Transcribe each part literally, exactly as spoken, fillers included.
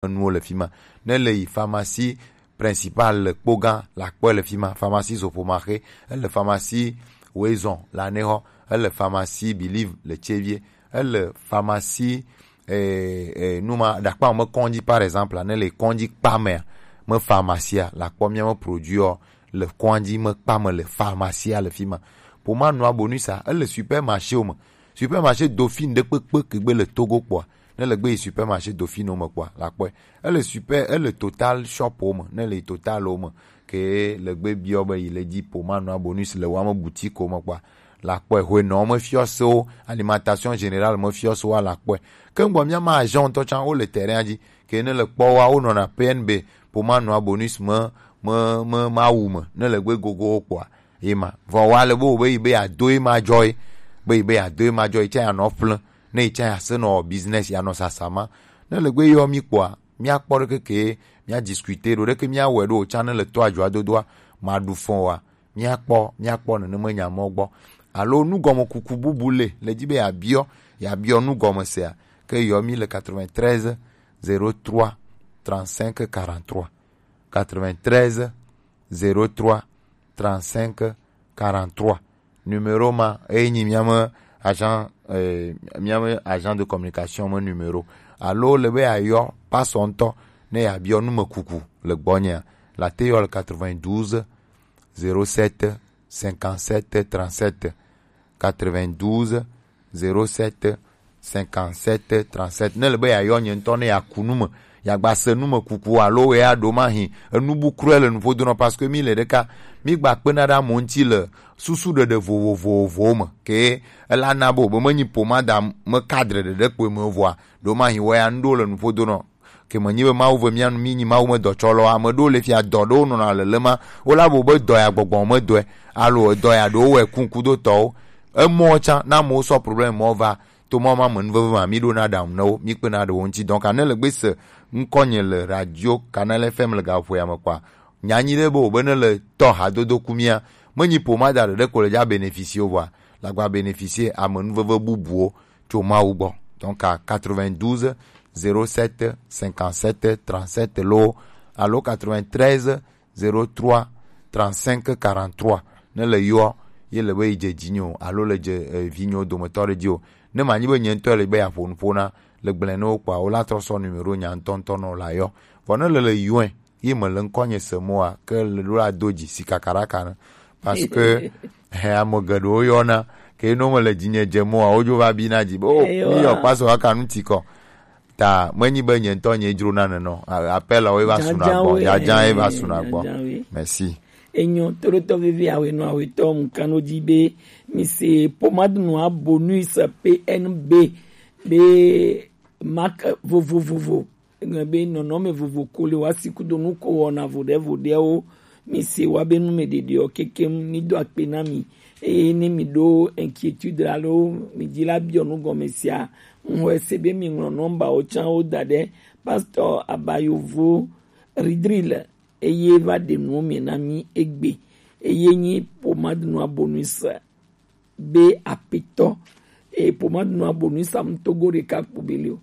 nuwo le fi ma. Ne le yi pharmacie principale le Kpogã, la kpɔe le fi ma. Pharmacie Zopomaxe, ele pharmacie Woezɔn le Anexɔ, ele pharmacie Believe le Tsevie, ele pharmacie, eh, eh, numa ɖakpa me kɔndzi, par exemple, ne le kɔndzi kpa mea, me pharmacie la kpɔ mía me produit le kɔndzi me kpa me le pharmacie le fi ma. Pomade noire bonus a, ele supermarché wo me. Supermarché Dauphine ɖe kpekpe ke gbe le Togo kpɔa, ne le gbe yi supermarché Dauphine wo me kpɔa, la kpɔe. Ele super, ele Total shop wo me, ne le yi Total wo me, ke le gbe biɔ be yi le dzi pomade noire bonus le wame boutique wo me kpɔa, la kpɔe. Hwenɔ me fiɔsewo, alimentation générale me fiɔsewo la kpɔe. Ke ŋgbɔ mía ma agent ŋutɔ tsã wo le terrain dzi, ke ne le kpɔ wa wo nɔna P N B pomade noire bonus me, me, me, ma wu me, ne le gbe gogo wo kpɔa, ye ma. Vɔ wa le be wo be yi be ya do ye ma jɔ ye, be yi be ya do ye ma jɔ ye, tsã ya nɔ ƒle, ne yi tsã ya se nɔ business ya nɔ sasa ma. Ne le gbe yɔ mi kpɔa, mía kpɔ ɖe keke, mía discuter ɖo ɖeke, mía wɛ ɖo tsã ne le to ajua dodoa, ma ɖu fɔn wa. Mía kpɔ, mía kpɔ nenema nya mɔ gbɔ. Alo nugɔme kuku bubu le, le dzi be ya biɔ, ya biɔ nugɔme sea, ke yɔ mi le quatre-vingt-treize zéro trois trente-cinq quarante-trois. Quatre-vingt-treize zéro trois trente-cinq quarante-trois. Numéro ma, eyi nyi mía me agent, eh, mía me agent de communication me numéro. Alo le be ayɔ pasɔ ŋutɔ ne ya biɔ nume kuku le gbɔnyea, la te yɔ le quatre-vingt-douze zéro sept cinquante-sept trente-sept. Quatre-vingt-douze zéro sept cinquante-sept trente-sept. Ne le be ya yɔ nye ŋutɔ ne ya ku nu me, ya gba se nu me kuku alo ya ɖo ma hi enu bu krɔe le nuƒodo nɔ, parce que mi le ɖeka, mi gba kpena ɖe amewo ŋuti le susu ɖeɖe vovovowo me. Ke ela na be wo be menyi pomada me cadre ɖeɖe kpoe me voa, ɖo ma hi wɔ ya nu ɖo le nuƒodo nɔ. Ke menyi be Mawu ve mía nu, mí nyi Mawu me dɔtsɔlɔ. Ame ɖewo le fia dɔ ɖewo nɔna lelema. Wo la bo be dɔ ya gbɔgbɔ me dɔe. Alo edɔ ya ɖewo wɛ kunku do tɔwo. Emɔ tsã, na amewo sɔ problème mɔ va. To mɔ ma me nuveve ma, mí ɖo na ɖaŋu ne wo, mí kpe na ɖewo ŋuti. Donc, ne le gbe se ŋkɔ nye le radio, Canal F M le gaƒo ya me kpɔa, nya nyi ɖe be wo be ne le tɔ hadodo ku mía. Menyi pomada ɖeɖe ko le dza bénéficier o vɔa, la gba bénéficier ame nuveve bubuwo tso Mawu gbɔ. Donc à quatre-vingt-douze zéro sept cinquante-sept trente-sept loo alo quatre-vingt-treize zéro trois trente-cinq quarante-trois. Ne le yɔ ye le be yi dze dzinye o alo le dze eh, vinyewo dometɔ ɖe dzi o. Ne manyi be nye ŋutɔ le be yeaƒo nuƒo na le gblẽ ne wo kpɔa, wo la trɔ sɔ numéro nya ŋutɔŋutɔ nɔ la yɔ. Vɔ ne le le yɔe ye me le ŋkɔ nye se moa, ke le ɖo la do dzi si kakaɖaka ne. Parce que he ame geɖewo yɔna ke no me le dzinye dze moa, wodzo va bi na dzi be o mi yɔ paso aka nu ti kɔ. Ta menyi be nye ŋutɔ nye dzro na nenɔ. A- appel wo va suna gbɔ, dzadza ye va suna gbɔ. Merci. Enyo toɖotɔ vevi awe no awe tɔ mu kano dzi be mi se pomade noire bonus P N B be marque vovovovo. Egblɔ be nɔnɔme vovo ko le woasi kudo nu ko wɔna voɖe voɖewo. Mi se wa be nu me ɖeɖeɔ kekem, mi do akpe na mi. Eye ne mi ɖo inquiétude alo mi dzi la biɔ nu gɔme sia, ŋxɔe se be mi ŋlɔ nɔmbawo tsã wo da ɖe. Pastor Abayovo Ridril eye va ɖe nuwo me na mi egbe. Eye nyi pomade noire bonus be apetɔ. Eye pomade noire bonus am togo ɖeka kpo be le o.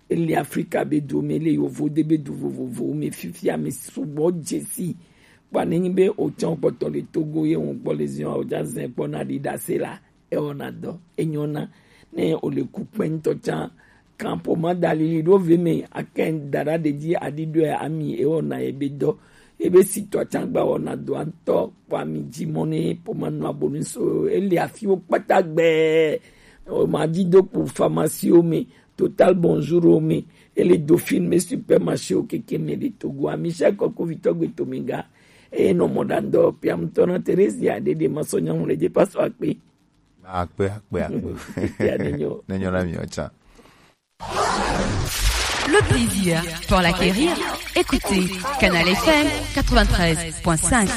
Ele Afrika be du me, ele yovo de be du vovovowo me fifia me sugbɔ dzesi. Kpa ne nyi be o tsã o kpɔtɔ le Togo ye ŋu kpɔ le zion o dza zɛ kpɔ na ɖi ɖase la, ewɔna dɔ, enyɔna. Ne o le ku kpɛntɔ tsã, kan pomade alili ɖo ve me, akɛ da ɖa ɖe dzi aɖi ɖɔe ami, ewɔna ye be dɔ. Ebe sitɔ tsã gba wɔna dɔa ŋutɔ kpɔ ami dzi mɔ ne pomade noire bonus o, ele afiwo kpata gbɛ. O ma dzi do kpo pharmacie wo me, Total Bonjour wo me, ele Dauphine me, supermarché wo keke me le Togo. Ami sha kɔkɔ vitɔ gbe to me ga. Eye nɔ mɔ ɖa ŋdɔ piam tɔ na Theresia ɖe ɖe ma sɔ nyamu le dze paso akpe. Akpe, akpe, akpe. Nenyo na mi tsã. Le plaisir pour l'acquérir, écoutez Canal F M quatre-vingt-treize point cinq.